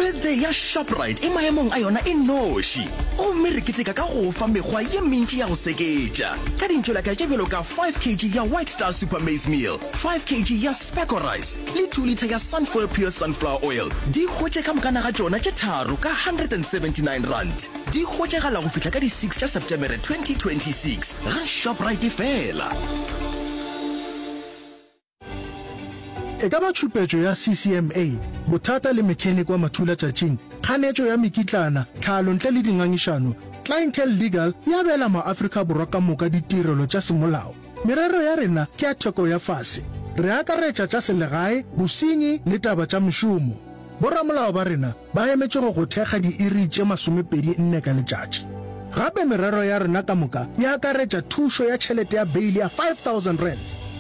Birthday ya Shoprite e maemong a yona e noši, gomme re keteka ka go fa mekgwa ye mentši ya go seketša ka dintšolaka tše bjalo ka 5 kg ya White Star Super Maize Meal, 5 kg ya Specco Rice le 2 litre ya Sunfoil Pure Sunflower Oil. Di hwetše ka mokana ga tšona tše tharo ka R179. Di hwetšagala go fihla ka di 6 tša Setemere 2026 ga Shoprite fela. E ka ba tšhupetšo ya CCMA, bothata le mechanic wa mathulatšatšing, kganetšo ya mekitlana, tlhalo ntle le dingangišano, Clientele Legal e abela maAfrika Borwa ka moka ditirelo tša semolao. Merero ya rena ke ya theko ya fase. Re akaretša tša selegae, bosenyi le taba tša mešomo. Boramolao ba rena ba emetše go go thekga diiri tše 24 ka letšatši. Gape merero ya rena ka moka e akaretša thušo ya tšhelete ya beili ya R5000.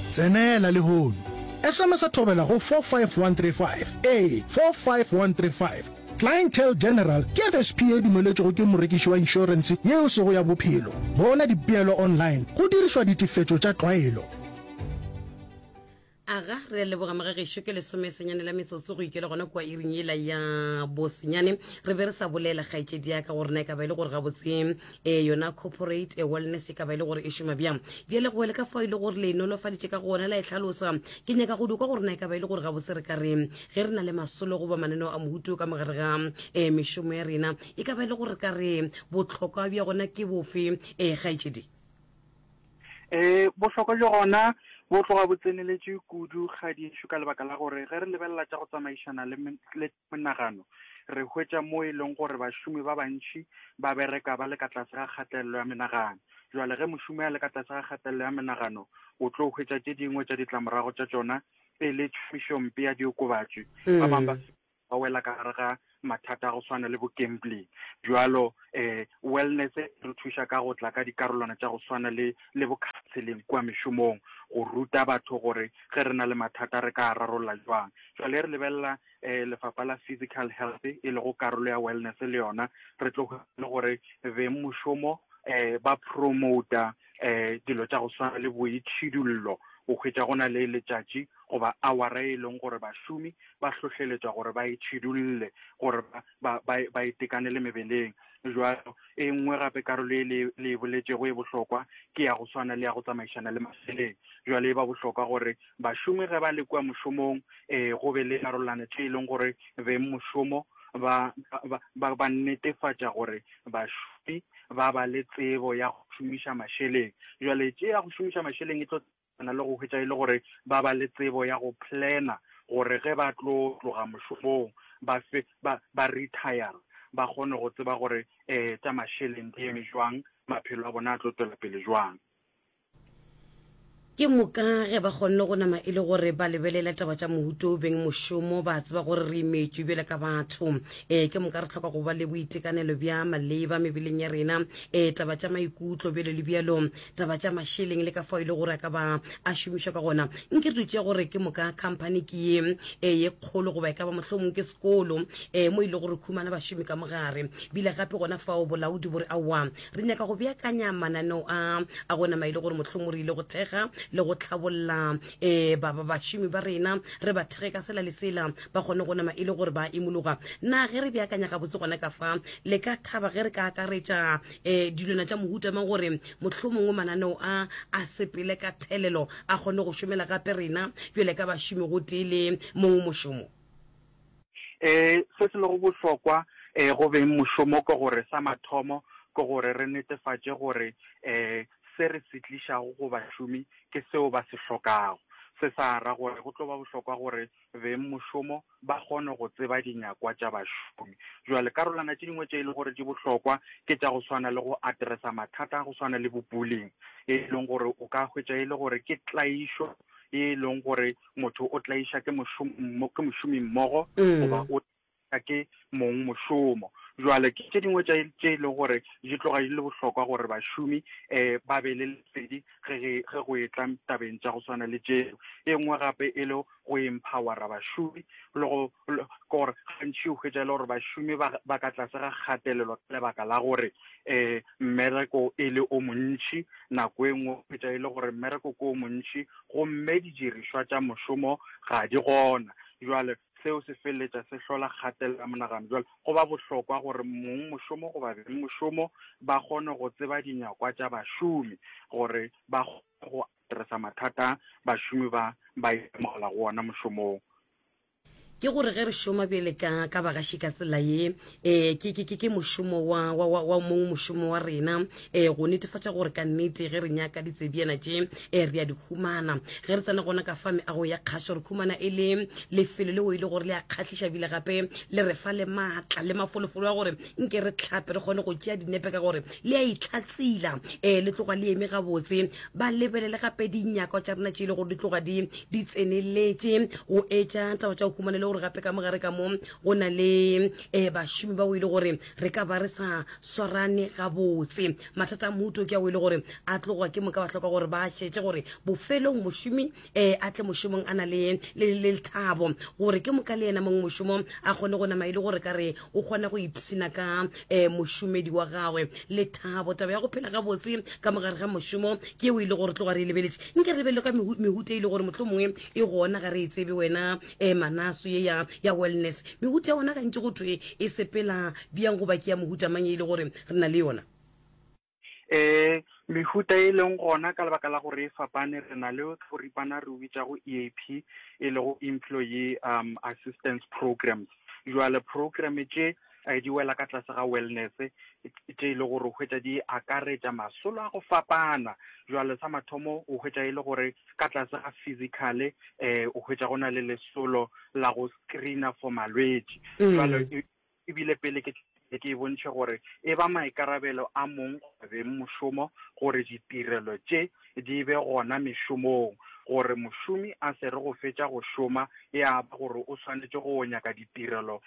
Tsenela lehono. SMS-a Thobela go 45135. Ee, 45135. Clientele General ke FSP ye e dumeletšwego ke morekiši wa inšorense ye e sego ya bophelo. Bona dipeelo online go dirišwa ditefetšo tša tlwaelo. Aga, re a leboga mogagešo, ke lesomesenyane la metsotso go ikela gona kua iring yela ya bosenyane. Re be re sa bolela kgaetšedi ya ka gore na e ka ba e le gore gabotse um yona corporate eh, wellness e ka ba e le gore e šoma bjang. Bjale go wele ka fao e le gore le e nolofaditše ka gona la e hlalosa. Ke nyaka go dikwa gore na e ka ba e le gore gabotse re ka re ge re na le masolo goba mananeo a mohuto ka mogare ga um mešomo ya rena e ka ba e le gore re ka re bohlokwa bja gona ke bofe um kgaetšedi? E, bohlokwa bja gona bo tloga bo tseneletše kudu kgadišo ka lebaka la gore ge re lebelela tša go tsamaišana le, le menagano re hwetša mo e leng gore bašomi ba bantši ba bereka ba le ka tlase ga kgatelelo ya menagano. Jwale ge mošomi a le ka tlase ga kgatelelo ya menagano o tlo hwetša tše dingwe tša ditlamorago tša tšona e le tšhomišompe ya diokobatši. Ba bangwe ba ba wela ka gare ga mathata a go swana le bo gambling. Bjalo eh wellness e re thuša ka go tla ka dikarolwana tša go swana le le bo counseling kua mešomong, go ruta batho gore ge re na le mathata re ka a rarolla jwang. Jwale re lebelela eh lefapha la physical health e lego karolo ya wellness le yona re tlo le gore beng mošomo eh ba promota eh dilo tša go swana le boitšhidullo. O hwetša go na le letšatši goba awara e leng gore bašomi ba hlohleletšwa gore ba itšhidulle, gore ba, ba, ba, ba itekanele mebeleng. Jwalo, e nngwe gape karolo e le, le e boletšego e bohlokwa ke ya go swana le ya go tsamaišana le mašeleng. Jwale e ba bohlokwa gore bašomi ge ba le kua mošomong, eh, go be le karolwana tše e leng gore beng mošomo ba, ba, ba, ba netefatša gore bašomi ba ba le tsebo ya go šomiša mašeleng. Jwale tše ya go šomiša mašeleng e tlo na le go hwetša e le gore ba ba le tsebo ya go plana gore ge ba tlo tloga mošomong ba fe, ba, ba retire, ba kgone go tseba gore um tša mašeleng di eme jwang, maphelo a bona a tlo tšwela pele jwang. Ke moka ge ba kgonne go nama e le gore ba lebelela taba tša mohuto o beng mošomo, ba tseba gore re imetšwe bjale ka batho. E, ke moka re hloka go ba le boitekanelo bja maleba mebeleng ya rena, e, taba tša maikutlo bjalo le bjalo. Taba tša mašeleng le ka fao e le gore a ka ba a šomišwa ka gona. Nke re tšea gore ke moka company ke ye e ye kgolo goba e ka ba mohlomong ke sekolo e mo e le gore khumana bašomi ka mogare. Bile gape gona fao bolaodi bo re aowa re nyaka go beakanya mananeo a a go nama e le gore mohlomong re ile go thekga le go tlhabolla e ba ba bašomi ba rena re ba thekge ka sela le sela ba kgone go nama e le gore ba imologa. Na ge re beakanya gabotse gona ka fa le ka thaba ge re ka akaretša um dilwana tša mohuta mang gore mohlomongwe mananeo a a sepele ka thelelo a kgone go šomela gape rena bjale ka bašomi gotee le mongwe mošomo? Um se se lego bohlokwa um go beng mošomo ke gore sa mathomo ke gore re netefatše gore um se re se tlišago go bašomi ke seo ba se hlokago. Se sa ra gore go tlo ba bohlokwa gore beng mošomo ba kgone go tseba dinyakwa tša bašomi. Bjale karolwana tše dingwe tše e le gore di bohlokwa ke tša go swana le go addressa mathata a go swana le bo bullying, e leng gore o ka hwetša e le gore ke tlaišo e leng gore motho o tlaiša ke ke mošomimmogo goba o ke mong mošomo. Jwale ke tše dingwe tše e leng gore di tloga di le bohlokwa gore bašomi um ba be le lesedi ge ge go etla tabeng tša go swana le tšeo. E nngwe gape e le go empowera bašomi le go ke gore gantši o hwetša e le gore bašomi ba ba ka tlase ga kgatelelo ka lebaka la gore um mmereko e le o montši, nako e nngwe o hwetša e le gore mmereko ke o montši gomme didirišwa tša mošomo ga di gona. Jwale. Seo se feleletša se hlola kgatelelo ya monagano. Bjale go ba bohlokwa gore mongmošomo goba bengmošomo ba kgone go tseba dinyakwa tša bašomi gore ba kgone go addressa mathata a bašomi ba ba itemogelago ona mošomong. Ke gore ge re šoma bjale ka, ka bagaši ka tsela ye, e, ke, ke, ke, ke mošomo wa, wa, wa, wa mong mošomo wa rena, e, go netefatša gore ka nnete ge re nyaka ditsebiana tše, e, re a di humana. Ge re tsena gona ka fa meago ya kgašo, re humana e le lefelo leo e le gore le a kgahliša bile gape le re fa le maatla le mafolofolo a gore nke re hlape re kgone go tšea dinepe ka gore le a itlhatsila, e, le tloga le eme gabotse. Ba lebelele gape dinyakwa tša rena tše e le gore di tloga di di tseneletše go etša taba tša go humana le gore gape ka mogare ka mo go na le um bašomi bao e le gore re ka ba re sa swarane gabotse. Mathata a mohuto ke ao e le gore a tloga ke moka ba hloka gore ba šetše gore bofelong mošomi um a tle mošomong a na le le le lethabo gore ke moka le yena mong mošomo a kgone go nama e le gore ka re o kgona go ipshina ka um mošomedi wa gagwe. Lethabo, taba ya go phela gabotse ka mogare ga mošomo ke eo e le gore tloga re e lebeletše. Nke re lebelele ka mehuta e le gore mohlomongwe e gona ga re e tsebe wena um Manaso ye ya ya wellness. Mehuta ya gona gantši go thwe e sepela bjang goba ke ya mohuta mang e le gore re na le yona? Um mehuta e leng gona ka lebaka la gore e fapane, re na le ka boripana re o bitšago EAP, e lego Employee um Assistance Programs. Jwale program tše eh, di wela ka tlase ga wellness tše e le gore o hwetša di akaretša masolo a go fapana. Jwale sa mathomo o hwetša e le gore ka tlase ga physical eh, o hwetša go na le lesolo la go screena for malwetši. Jwale mm. E bile pele ke ke e bontšhe gore e ba maikarabelo a mong goba bengmošomo gore ditirelo tše di be gona mešomong, gore mošomi a se re go fetša go šoma ya ba gore o swanetše go nyaka ditirelo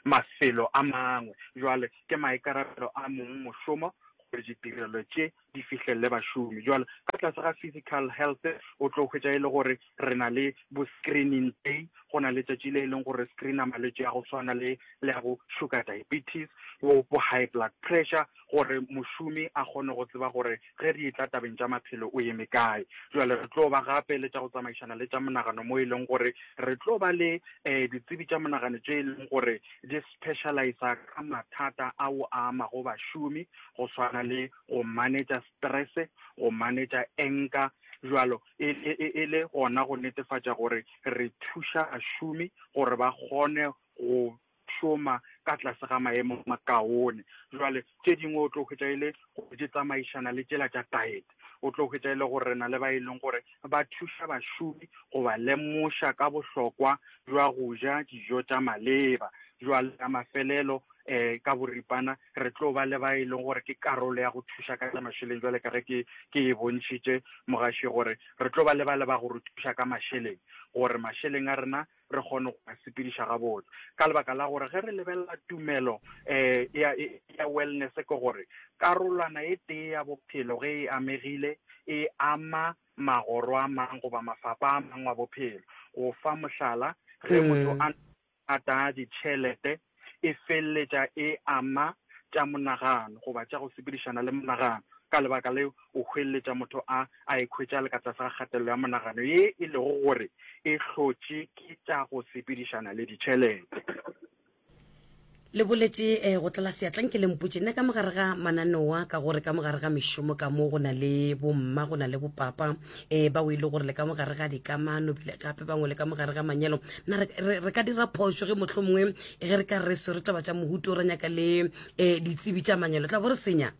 mafelo a mangwe. Jwale ke maikarabelo a mongmošomo gore ditirelo tše di fihlelele bašomi. Jwale ka tlase ga physical health o tlo hwetša e le gore re na le bo screening day, go na le tšatši le e leng gore screena malwetši a go swana le le a bo sugar diabetes, bo bo high blood pressure, gore mošomi a kgone go tseba gore ge re etla tabeng tša maphelo o eme kae. Jwale re tlo ba gape le tša go tsamaišana le tša monagano mo e leng gore re tlo ba le um ditsebi tša monagano tše e leng gore di specialisa ka mathata ao a amago bašomi go swana le go manetša stress, go manetša anger, jwalo e, e, e, e le gona go netefatša gore re thuša bašomi gore ba kgone go šoma ka tlase ga maemo makaone. Jwale tše dingwe o tlo hwetša e le gore di tsamaišana le tšela tša diet. O tlo hwetša e le gore re na le ba e leng gore ba thuša bašomi go ba lemoša ka bohlokwa bja go ja dijo tša maleba. Jwale ya mafelelo um ka boripana re tlo ba le ba e leng gore ke karolo ya go thuša ka tša mašeleng jwale ka ge ke ke e bontšhitše mogaši gore re tlo ba le ba le ba go re thuša ka mašeleng gore mašeleng a rena re kgone go a sepediša gabotse ka lebaka la gore ge re lebelela tumelo um ya, ya wellness ke gore karolwana e tee ya bophelo ge e amegile e ama magoro a mang goba mafapa a mang wa bophelo go fa mohlala ge motho a Mathata a ditšhelete e feleletša e ama tša monagano goba tša go sepedišana le monagano. Ka lebaka leo, o hweleletša motho a a ikhwetša a le ka tlase ga kgatelelo ya monagano ye e lego gore e hlotše ke tša go sepedišana le ditšhelete. Le boletše eh, go tlala seatla nke le mpotše nna ka mogare ga mananeo a ka gore ka mogare ga mešomo ka mo go na le bomma go na le bopapa eh, bao e le gore le ka mogare ga dikamano bile gape bangwe le ka mogare ga manyalo na re, re, re ka dira phošo ge mohlomongwe ge re ka re swere taba tša mohuto ra nyaka le eh, ditsebi tša manyalo tla bo re senya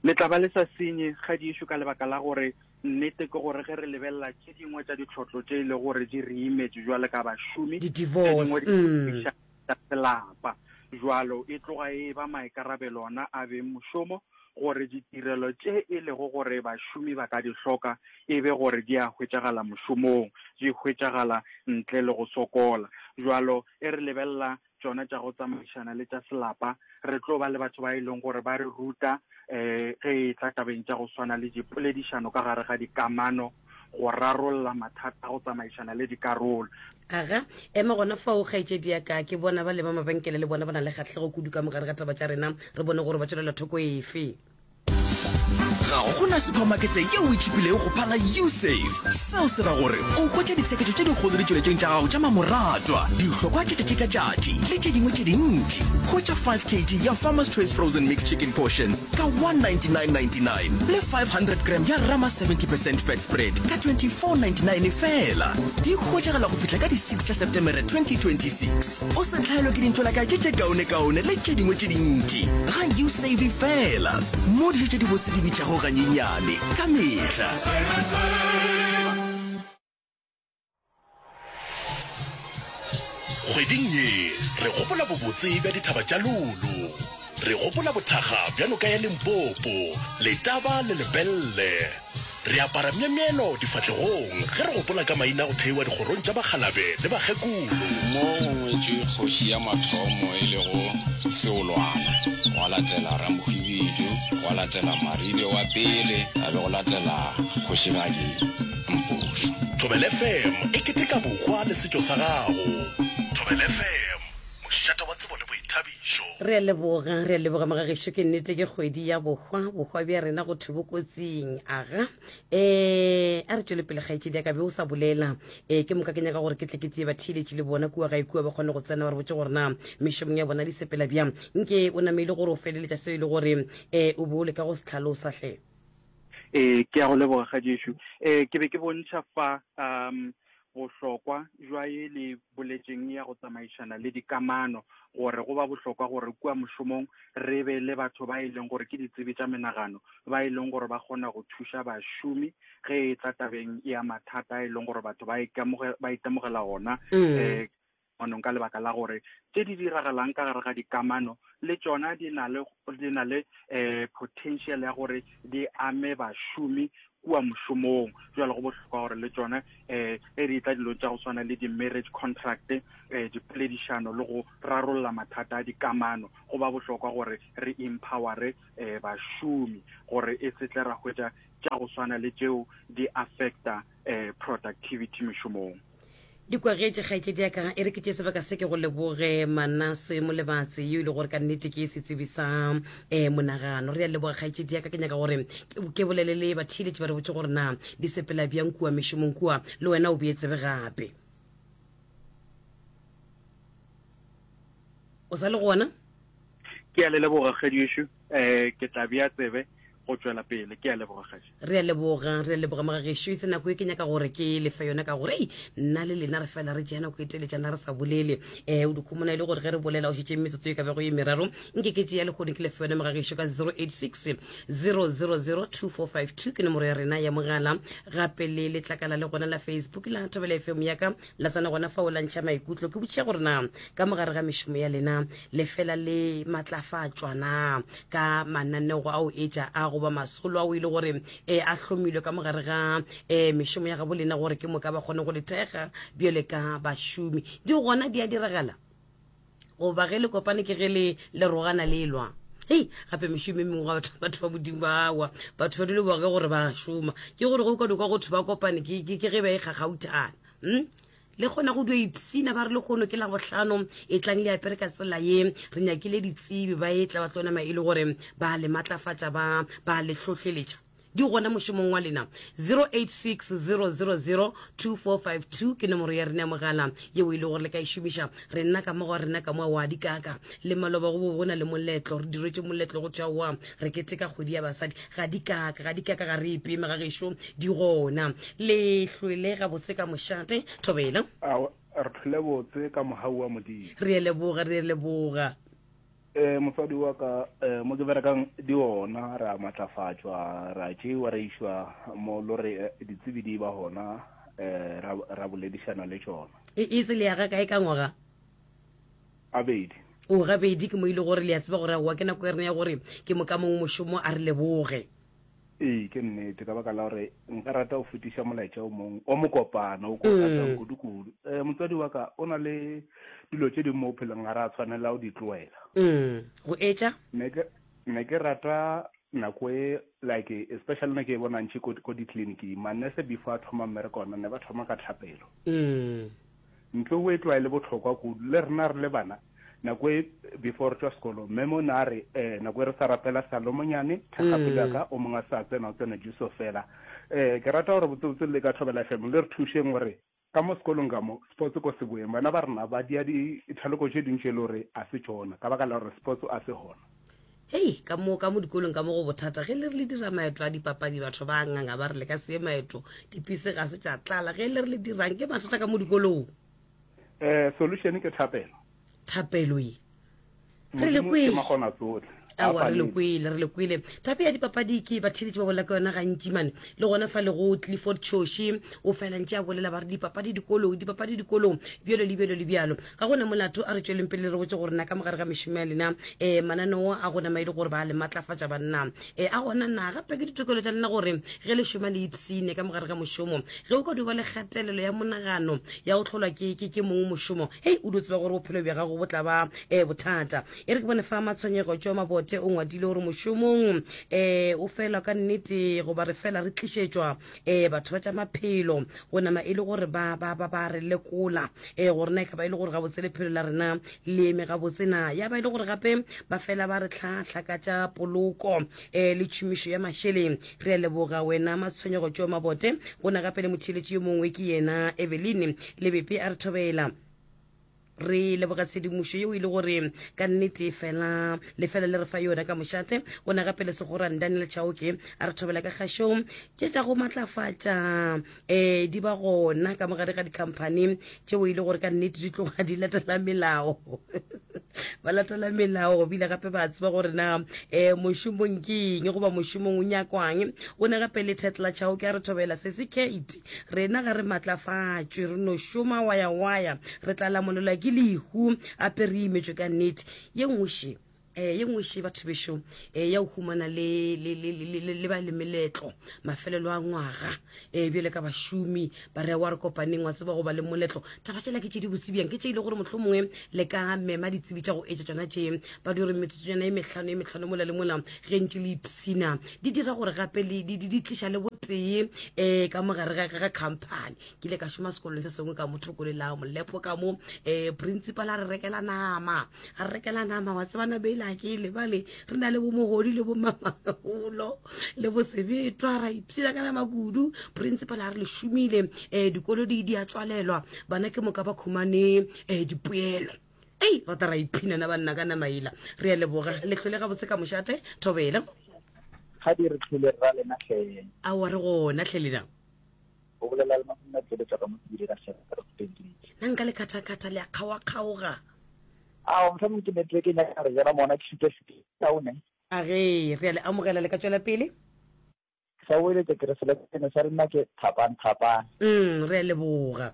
Le tla ba le sa senye kgadišo ka lebaka la gore nnete ke gore ge re lebelela tše dingwe tša ditlhotlo tše e le gore di re imetše jwale ka bašomi, tše Di-divorce, dingwe di mm. tša selapa. Jwalo e tloga e ba maikarabelo ona a beng mošomo gore ditirelo tše e lego gore bašomi ba ka di hloka e be gore di a hwetšagala mošomong, di hwetšagala ntle le go sokola. Bjalo e re lebelela tšona tša go tsamaišana le tša selapa, re tlo ba le batho ba e leng gore ba re ruta um ge e tla tabeng tša go swana le dipoledišano ka gare ga dikamano, go rarolla mathata go tsamaišana le dikarolo. Aga, ema gona fao, kgaetšedi ya ka. Ke bona ba leba mabenkele le bona ba na le kgahlego kudu ka mogare ga taba tša rena. Re bone gore ba tšwelela thoko efe. Ga go na suphamakete yeo e tšhipilego go phala Usave. Seo se ra gore o hwetša ditsheketšo tše dikgolo ditšweletšong tša gago tša mamoratwa, dihlokwa tša tšatši ka tšatši le tše dingwe tše dintši. Hwetša 5 kg ya Farmer's Choice Frozen Mixed Chicken Portions ka 199.99 le 500 gram ya Rama 70 percent Fat Spread ka 24.99 feela. Di hwetšagala go fihla ka di 6 tša Setemere 2026. O se hlaelwe ke dintlo-la-ka tše tše kaonekaone le tše dingwe tše dintši ga Usave feela, mo dijo tše dibose di bitšago ganyenyane ka mehla. Kgweding ye re gopola bobotse bja dithaba tša Lulu. Re gopola bothakga bja noka ya Limpopo, Letaba le Lepelle. Re apara myemyelo difahlegong ge re gopola ka maina a go theiwa dikgorong tša bakgalabe le bakgekolo. Mo go ngwetšwe kgoši ya mathomo e lego Seolwana, gwa latela Ramohwibidu, gwa latela Maribe wa pele, ga be go latela Kgošigadi Mpošo. Thobela FM e keteka bohwa le setšo sa gago. Thobela FM, mošate wa tsebo le boithabišo. Re a leboga, re a leboga mogagešo, ke nnete ke kgwedi ya bohwa, bohwa bja rena go thwe bo kotsing. Aga, eh, a re tšwele pele kgaetšedi ya ka be o sa bolela. Eh, ke moka ke nyaka gore ke tle ke tšee batheeletši le bona kua gae kua ba kgone go tsena ba re botše gore na mešomong ya bona di sepela bjang. Nke o namile gore o feleletša seo e le gore eh, o be o leka go se hlalosa hle. Ee, ke a go leboga kgaetšešo. Ee, ke be ke bontšha fa um bohlokwa jwa ye le boletšeng ya go tsamaišana le dikamano, gore go ba bohlokwa gore kua mošomong re be le batho ba e leng gore ke ditsebi tša menagano, ba e leng gore ba kgona go thuša bašomi ge e tla tabeng ya mathata a e leng gore batho ba ba itemogela ona um kamanong ka lebaka la gore tše di diragalang ka gare ga dikamano le tšona di na le di na le um potential ya gore di ame bašomi kua mošomong. Jwale go bohlokwa gore le tšona um ge di tla dilong tša go swana le di-marriage contract, um dipoledišano le go rarolla mathata a dikamano, go ba bohlokwa gore re empowere um bašomi gore e se tle ra hwetša tša go swana le tšeo di affecta um productivity mešomong. Di kwagetše, kgaetšedi ya ka. E re ke tšee sebaka se ke go leboge, Manaswe Molebatse, yo e le gore ka nnete ke setsebi sa um monagano. Re a leboga, kgaetšedi ya ka. Ke nyaka gore ke bolele le batheeletši ba re botše gore na di sepela bjang kua mešomong kua, le wena o bee tsebe gape. O sa le gona? Ke a le leboga, kgadiešo. Um ke tla bea tsebe go tšwela pele. Ke a leboga kgaši. Re a leboga, re a leboga mogagešo. Itse nako e ke nyaka gore ke lefe yona ka gore ei nna le lena re fela re tšea nako e teletšana re sa bolele. Um o dikhumona e le gore ge re bolela o šetše metsotso e ka bego ye meraro. Nke ke tšea lehono ke lefe yona mogagešo ka 086 000 2452 ke nomoro ya rena ya mogala. Gape le letlakala le gona la Facebook la Thobela FM ya ka la tsena gona fao la ntšha maikutlo. Ke botšiša gore na ka mogare ga mešomo ya lena le fela le matlafatšwa na ka mananego ao etša a goba masolo ao e le gore e a hlomilwe ka mogare ga e mešomo ya gabo lena gore ke moka ba kgone go le thekga bjale ka bašomi. Di gona di a diragala goba ge le kopane ke ge le le rogana le lwa. Hei, gape mešomo e mengwe ga batho batho ba modimo bawa batho ba dule boge gore ba šoma ke gore go ka dikwa go thwe ba kopane ke ke ke ge ba e kgakgauthana. Hmm? Le kgona go dio ipsina ba re lekgono ke Labohlano, etlang le apere ka tsela ye. Re nyakile ditsebi ba etla ba tlo nama e le gore ba le matlafatša ba ba le hlohleletša. Di gona mošomong wa lena. 0860002452 ke nomoro ya rena ya mogala yeo e le gore le ka e šomiša. Rena ka mo ga rena ka mo wa dikaka le maloba go bo go na le moletlo, re diretše moletlo go thwe aowa re keteka kgwedi ya basadi. Ga dikaka, ga dikaka ga re epeme ga gešo di gona. Le hlwele gabotse ka mošate, Thobela. A re hlwele botse ka mogau wa Modimo. Re a leboga, re a leboga. Eh, mosadi wa ka eh, mo ke berekang di ona re a matlafatšwa ra tšeiwa ra išwa mo lo re eh, ditsebi di ba gona eh, ra, ra boledišana le tšona. E, e se le ya ga kae ka ngwaga? Gabedi. O, gabedi ke mo ile gore le a tseba gore aowa ke nako ya rena ya gore ke moka mong mošomo a re leboge. Ee, ke nnete, ka baka la gore nka rata go fetiša molaetša o mongwe o mokopana o ko ratang kudu-kudu. Um motswadi wa ka o na le dilo tše dingwe mo bophelong ga ra tshwanela go di tloela. Go etša? Ne ke ne ke rata nako e like especially ne ke e bona ntši ko ko ditleliniking manese before a thoma mmereko ona ne ba thoma ka thapelo. Ntlo o e tlwaele bohlokwa kudu le rena re le bana. Nako e before re tšwa sekolong, mme mo na re, eh, nako e re sa rapela Salomonyane, thekga pelo ya ka, o mongwe a sa tsena, o tsena Jesu fela. Eh, ke rata gore botsebotse le ka Thobela FM le re thušeng gore ka mo sekolong ka mo, sports ko se boeng. Bana ba rena ba dia dithaloko tše dintši e le gore a se tšona, ka baka la gore sports a se gona. Hei, ka mo, ka mo dikolong ka mo go bothata. Ge le re le dira maeto a dipapadi, batho ba nganga ba re le ka se ye maeto, dipese ga se tša tlala. Ge le re le dirang, ke mathata ka mo dikolong. Eh, solution ke thapelo. Thapelo ye. Re le Modimo ke kwele. makgona tsohle. A Aowa, re le palelwe. kwele, re le kwele. Thape ya dipapadi ke batheeletši ba bolela ka yona gantši mane. Le gona fa le go Clifford Choshi, o fela ntše a bolela ba re dipapadi dikolong, dipapadi dikolong, bjalo le bjalo le bjalo. Ga go na molato, a re tšweleng pele re botše gore na ka mogare ga mešomo ya lena, um mananeo a gona ma e le gore ba le matlafatša banna. Um a gona na gape ke ditokelo tša lena gore ge le šoma le ipshine ka mogare ga mošomo. Ge o ka dio ba le kgatelelo ya monagano ya go hlolwa ke, ke, ke mong mošomo, hei, o dio tseba gore bophelo bja gago bo tla ba um bothata. E re ke bone fa Matshwenyego tšo Mabote o ngwadile gore mošomong um o fela ka nnete goba re fela re tlišetšwa um batho ba tša maphelo go nama e le gore ba, ba, ba, ba re lekola um gore na e ka ba e le gore gabotse lephelo la rena le eme gabotse na. Ya ba e le gore gape ba fela ba re hlahla ka tša poloko um le tšhomišo ya mašeleng. Re a leboga wena Matshwenyego tšo Mabote. Go na gape le motheeletši yo mongwe ke yena Eveline Lebepe a re thobela. Re leboga tshedimošo yeo e le gore ka nnete fela le fela le re fa yona ka mošate. Go na gape le Segorane Daniel Chauke a re thobela ka kgašong. Tše tša go matlafatša um di ba gona ka mogare ga dikhamphani tšeo e le gore ka nnete di tloga di latela melao. Ba latela melao bile gape ba tseba gore na um mošomong ke eng goba mošomong o nyakwang. Go na gape le Tetla Chauke a re thobela Sesi Kate. Rena ga re matlafatšwe, re no šoma waya-waya, re tla lamolelwa ke lehu, ape re imetšwe ka nnete. Ye nngwe še, eh, ye nngwe še batho bešo, eh, ya go humana le, le, le, le, le, le ba le meletlo mafelelo a ngwaga, eh, bjale ka bašomi ba re wa re kopaneng, wa tseba go ba le moletlo. Taba tšela ke tše di botse bjang, ke tše e le gore mohlomongwe le ka mema ditsebi tša go etša tšona tše, ba di gore metsotsonyana e mehlano e mehlano mola le mola ge ntše le ipshina, di dira gore gape le di, di, di tliša le botee um ka mogare ga, ga company. Ke ile ka šoma sekolong se sengwe ka mo thoko le la molepo ka mo, um principal a re rekela nama, a re rekela nama, wa tseba nama ela ke e lebale, re na le bo mogodi le bo mamagolo le bo sebetwa, ra ipshina ka nama kudu. Principal a re le šomile, um dikolo di, di a tswalelwa, bana ke moka ba khumane um dipoelo. Ei, rata ra iphinana banna ka nama ela. Re a leboga. Le hlole gabotse ka mošate, Thobela. Ga di re hlole ra lena hle. Aowa re gona hle lena. O bolela le Mafunna Tšweletša ka mo Sebile ka Hleng ka Rustenburg. Na nka le khathakhatha le a kgaowa-kgaoga? Aowa mohlomong ke network e nyaka re jela mona ke šuta-šuta kaone. A ge, re a le amogela le ka tšwela pele. Ke sa boeletša ke re selekane sa rena ke thapang thapang. Mm, re a leboga.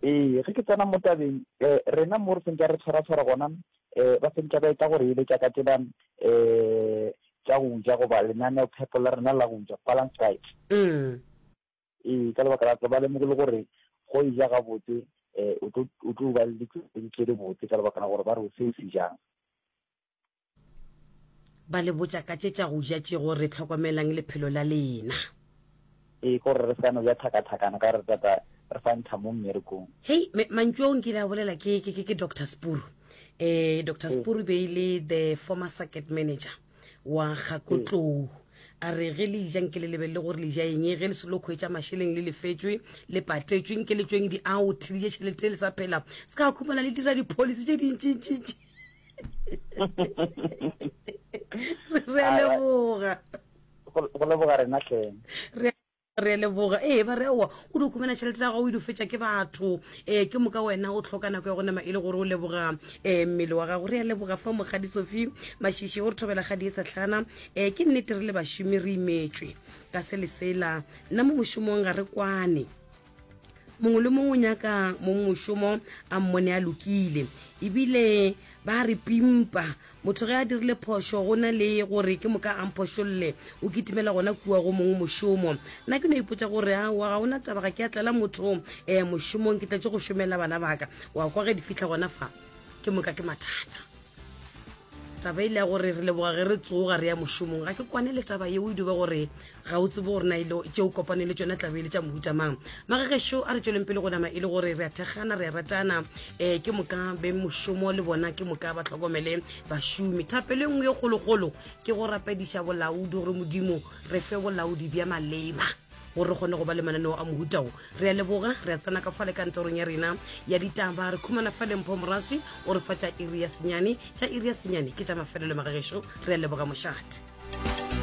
Ee, ge ke tsena mo tabeng, eh, rena mo re sentša re tshwara-tshwara gona, eh, ba sentša ba etla go re eletša ka tsela eh, tša go ja goba lenaneophepo la rena la go ja, balanced diet. Mm. Ee, ka lebaka la ba lemogile gore go e ja gabotse eh, o tlo o tlo ba le ditšweledi tše dibotse ka lebaka la gore ba re o se o se jang. Ba le botša ka tše tša go ja tše gore hlokomelang lephelo la lena. Ee, ke gore re sa no ja thakathakana ka re tata re sa ntha mo mmerekong. Hei, me, mantšu ao nkile a bolela ke, ke, ke, ke Doctor Spuru. Eh, Doctor Ee. Spuru be e le the former circuit manager wa Gakotlou. A re ge le ja nke le lebelele gore le ja eng, ge le se lo khwetša mašeleng le lefetšwe, le patetšwe, nke le tšweng di-out, le je tšhelete le sa phela. Se ka khumana le dira di-policy tše dintšintšintši. Re a leboga. Go leboga rena hleng. Re re a leboga. Ee, ba re aowa, o di khumana tšhelete ya gago o di fetša ke batho. Ee, ke moka wena o tlhoka nako ya go nama e le gore o leboga um mmele wa gago. Re a leboga fa Mokgadi Sophie Mashishi o re thobela kgadi e tshehlana. Ee, ke nnete re le bašomi re imetšwe ka se le sela. Nna mo mošomong ga re kwane. Mongwe le mongwe o nyaka mongmošomo a mmone a lokile. Ebile ba re pimpa. Motho ge a dirile phošo go na le gore ke moka a mphošolle, o kitimela gona kua go mongwe mošomo. Nna ke no ipotša gore aowa ga ona taba, ga ke a tlela motho um mošomong, ke tletše go šomela bana ba ka. Wa kwa ge di fihla gona fa, ke moka ke mathata. Taba e le ya gore re leboga ge re tsoga re ya mošomong, ga ke kwane le taba yeo e duba gore ga o tsebe gore na ile tše o kopane le tšona tlabe e le tša mohuta mang. Magagešo a re tšweleng pele go nama e le gore re a thekgana, re a ratana, um ke moka beng mošomo le bona ke moka ba hlokomele bašomi. Thapelo e nngwe ye kgolokgolo ke go rapediša bolaodi gore Modimo re fe bolaodi bja maleba gore re kgone go ba le mananeo a mohuta wo. Re a leboga, re a tsena ka fale kantorong ya rena ya ditaba, re khumana fale Mpho Moraswi o re fa tša iri ya senyane, tša iri ya senyane ke tša mafelelo magagešo, re a leboga mošate.